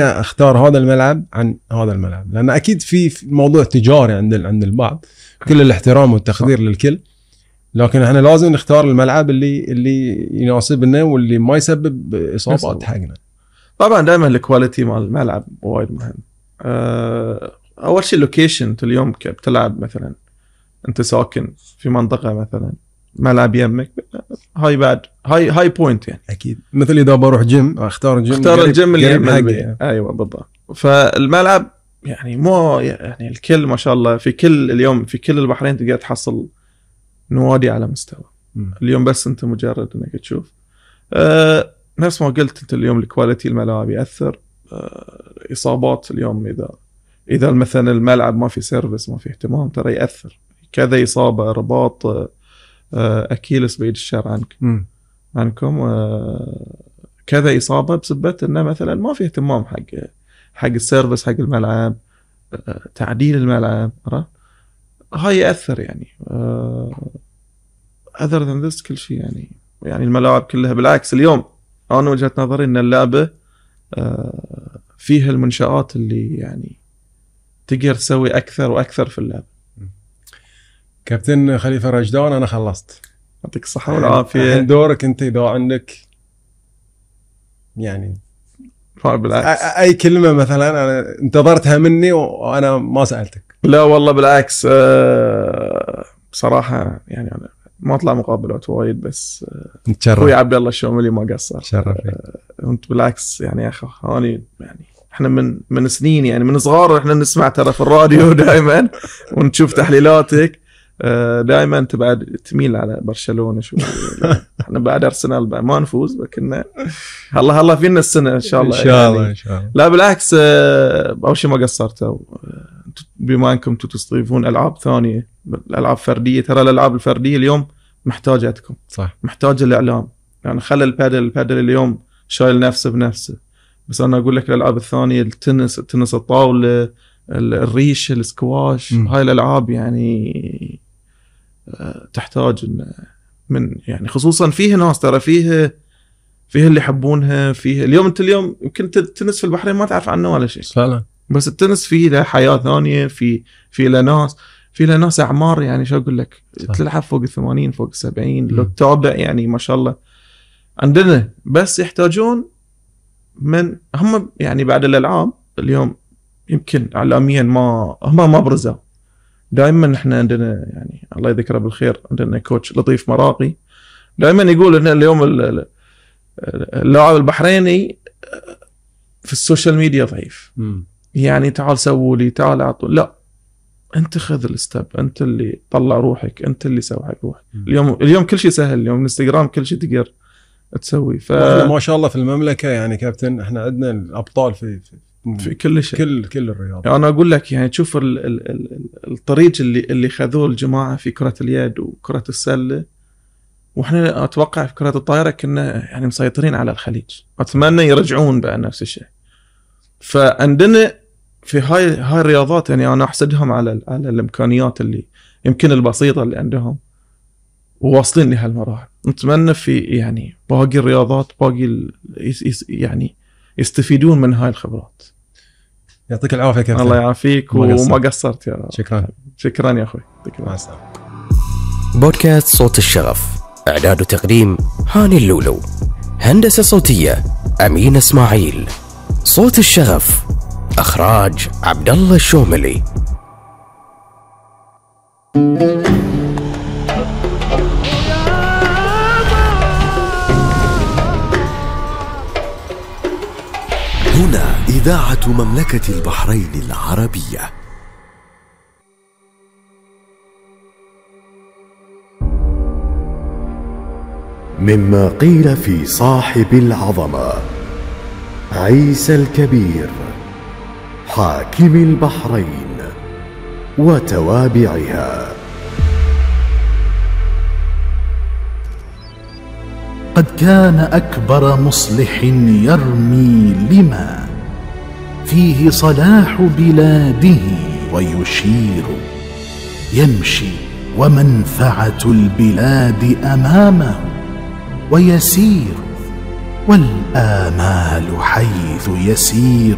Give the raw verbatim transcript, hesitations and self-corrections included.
اختار هذا الملعب عن هذا الملعب، لان اكيد في موضوع تجاري عند عند البعض، كل الاحترام والتقدير للكل، لكن احنا لازم نختار الملعب اللي اللي يناسبنا واللي ما يسبب اصابات حقنا. طبعا دائما الكواليتي مال الملعب وايد مهم. أه اول شيء اللوكيشن. انت اليوم بتلعب مثلا انت ساكن في منطقه مثلا ملعب يمك، هاي بعد هاي هاي بوينت يعني. اكيد مثل اذا بروح جيم اختار جيم اختار الجيم اللي يم حقي. ايوه بالضبط. فالملعب يعني مو يعني الكل ما شاء الله في كل اليوم في كل البحرين تقدر تحصل نوادي على مستوى. م. اليوم بس انت مجرد انك تشوف أه نفس ما قلت انت اليوم الكواليتي الملاعب ياثر. أه اصابات اليوم اذا اذا مثلا الملعب ما في سيرفيس ما في اهتمام ترى ياثر. كذا اصابه رباط أه اكيلس بعيد الشر عنك م. عنكم أه كذا اصابه بسبب انه مثلا ما في اهتمام حق حق السيرفيس حق الملعب، أه تعديل الملعب. هاي ياثر يعني. أه other than this كل شيء يعني يعني الملاعب كلها بالعكس. اليوم انا وجهة نظري ان اللعبه أه فيها المنشآت اللي يعني تقدر تسوي اكثر واكثر في اللعبه. كابتن خليفه رشدان انا خلصت، يعطيك الصحه والعافيه. الحين دورك انت اذا عندك يعني بالعكس اي كلمه مثلا انا انتظرتها مني وانا ما سالتك. لا والله بالعكس. أه بصراحه يعني انا ما اطلع مقابلات وايد بس اخوي عبد الله الشوملي ما قصر. شرفني. انت بالعكس يعني يا اخي هاني يعني احنا من من سنين يعني من صغار احنا نسمع ترى في الراديو دائما ونشوف تحليلاتك. دائما انت بعد تميل على برشلونه شو. احنا بعد ارسنال ما نفوز لكن الله الله فينا السنه ان شاء الله. ان شاء الله ان شاء الله. لا بالعكس اول شيء ما قصرتوا بما انكم تستضيفون العاب ثانيه الالعاب فرديه. ترى الالعاب الفرديه اليوم محتاجتكم صح، محتاجه الاعلام يعني. خلى البادل البادل اليوم شايل نفسه بنفسه، بس انا اقول لك الالعاب الثانيه التنس التنس الطاوله الريش السكواش م. هاي الالعاب يعني تحتاج من يعني خصوصا فيه ناس ترى فيه فيه اللي يحبونها. فيه اليوم انت اليوم يمكن التنس في البحرين ما تعرف عنه ولا شيء فعلا، بس التنس فيه له حياه ثانيه. في في له ناس في له ناس اعمار يعني شو اقول لك تلعب فوق الثمانين فوق السبعين لو تتابع يعني ما شاء الله عندنا. بس يحتاجون من هم يعني بعد الالعاب اليوم يمكن اعلاميا ما هم ما برزوا. دائما احنا عندنا يعني الله يذكره بالخير عندنا كوتش لطيف مراقي دائما يقول ان اليوم اللاعب البحريني في السوشيال ميديا ضعيف. م. يعني تعال سووا لي تعال اعطوا. لا انت خذ الستب، انت اللي طلع روحك، انت اللي سوي حق روحك. اليوم اليوم كل شيء سهل. اليوم انستغرام كل شيء تقدر تسوي. ف ما شاء الله في المملكه يعني كابتن احنا عندنا الابطال في في, في كل شيء كل كل الرياضه. يعني انا اقول لك يعني تشوف ال ال ال الطريق اللي اللي خذوه الجماعه في كره اليد وكره السله، واحنا اتوقع في كره الطائره كنا يعني مسيطرين على الخليج. اتمنى يرجعون بقى نفس الشيء. فعندنا في هاي هاي الرياضات يعني انا احسدهم على على الامكانيات اللي يمكن البسيطه اللي عندهم وواصلين لهالمراحل. نتمنى في يعني باقي الرياضات باقي يعني يستفيدون من هاي الخبرات. يعطيك العافيه كابتن. الله يعافيك وما قصرت يا شكرا. شكرا يا اخوي. مع السلامه. بودكاست صوت الشغف، اعداد وتقديم هاني اللولو، هندسه صوتيه امين اسماعيل، صوت الشغف اخراج عبد الله الشوملي. هنا إذاعة مملكة البحرين العربية. مما قيل في صاحب العظمة عيسى الكبير حاكم البحرين وتوابعها. قد كان أكبر مصلح يرمي لما فيه صلاح بلاده ويشير، يمشي ومنفعة البلاد أمامه ويسير والآمال حيث يسير